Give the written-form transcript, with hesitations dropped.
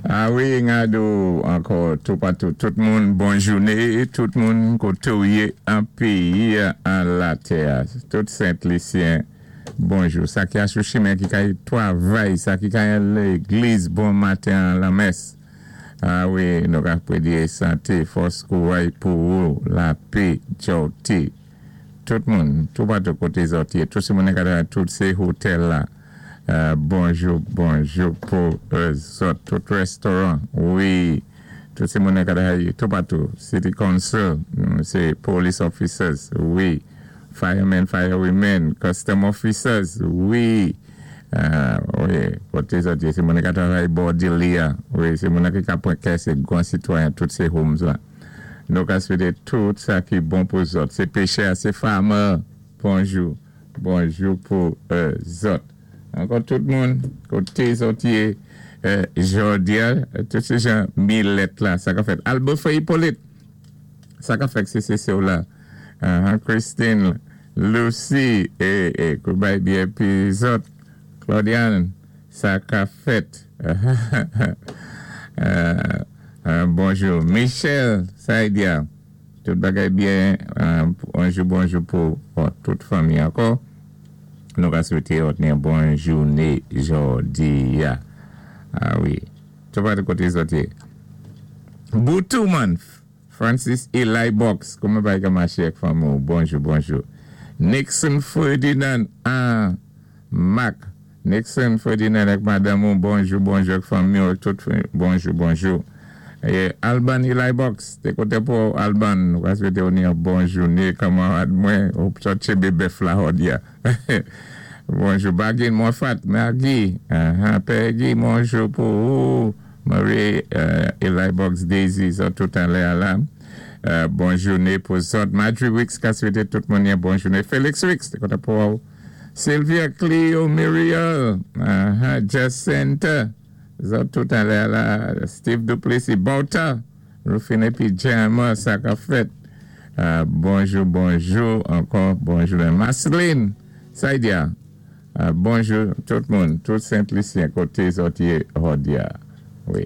A wi, ngado ankò toupatou tout moun, bon jouné tout moun koté-w yé an péyi an latè-a. Tout Sent Lisyen, bonjou. Sa ki a sou chimen ki kay twavay, sa ki kay al légliz bon maten an lanmès. A wi, nou ka prédé santé, fòs, kouray pou ou, lapé, djòwté. Tout moun, toupatou koté zòt yé, tout sé moun ka travay, tout sé hotèl la. Bonjou bonjou pou zòt tout restaurant wi tout se moun ka travay toupatou city council se police officers wi firemen firewomen custom officers wi wi kote zòt ye se moun ka travay bò dili a wi se moun ki ka pran kè se gran sitwayen tout se homes la nou ka swete tout sa ki bon pou zòt se pechè se farmer bonjou. Bonjou pou zòt. Ankò tout moun koté zòt yé jòdi-a tout se jan milèt la sa ka fèt Albofre Hyppolite sa ka fèt se se se w la Christine Lucie e koubay byen pi zòt Claudiane sa ka fèt Bonjou Michel Saidia. Tout bagay byen bonjou bonjou pou tout fanmi ankò nou ka swete yo yon bon joune jodi a wi tout patou kote zòt ye Boutou man Francis Eli Box kouman bagay ka mache ak fanmi w bonjou bonjou Nixon Ferdinand an Mak Nixon Ferdinand ak madanm ou bonjou bonjou ak fanmi w ak tout bonjou bonjou Alban Eli Box te kote pou Alban nou ka swete w ni yon bon joune kanmarad mwen ou sot tchebe bèf la hòdi a bonjou Bagin Moffat Maggie Peggy bonjou pou ou Marie Eli Box Daisy zòt tout anlè a la bon joune pou zòt Marjorie Wicks ka swete tout moun yon bon joune Felix Wicks te kote pou w. Sylvia Cleo Muriel Jacinta zòt tout anlè a la Steve Duplessis Bauta Rufine epi Jama sa kap fèt bonjou bonjou ankò bonjou Marceline Saidia bonjou tout moun tout Sent Lisyen kote zòt ye hòdia wi.